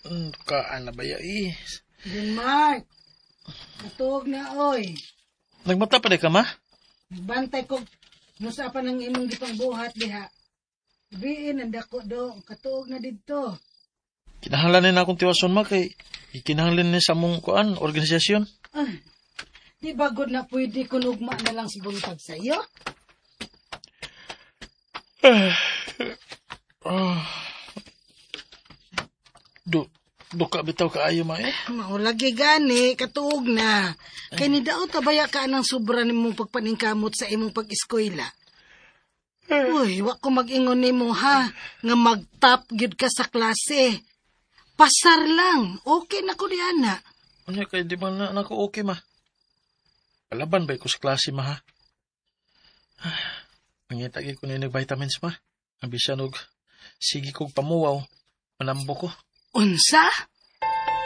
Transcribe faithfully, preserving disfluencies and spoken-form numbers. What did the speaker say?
Mm, kaan na ba ya eh? Denmark. Katuog na oy. Nagmata pa di ka ma? Nagbantay ko nusa pa ng imong gipangbuhat diha. Biin ang dako do, katuog na didto. Kinahanglan na akong tiwason ma kay kinahanglan ni sa among kuan organisasyon. Ah, di ba gud na pwede kun ugma na lang sa buntag sa iyo? Ah. Du duka bitaw kaayo ma eh. Maulagi gani, katuog na. Kay ni daot tabaya ka ng sobra nimong pagpaningkamot sa imong pag-eskwela. Uy, wa ko mag-ingon nimo ha, nga mag-top gyud ka sa klase. Pasar lang, okay na ko di ana. Unya kay di man na nako okay ma. Palaban ba ko sa klase ma ha? Ah, Mangita gyud ko ni vitamins ma. Ang bisan og sige kog pamuwaw, manambo ko. Unsa?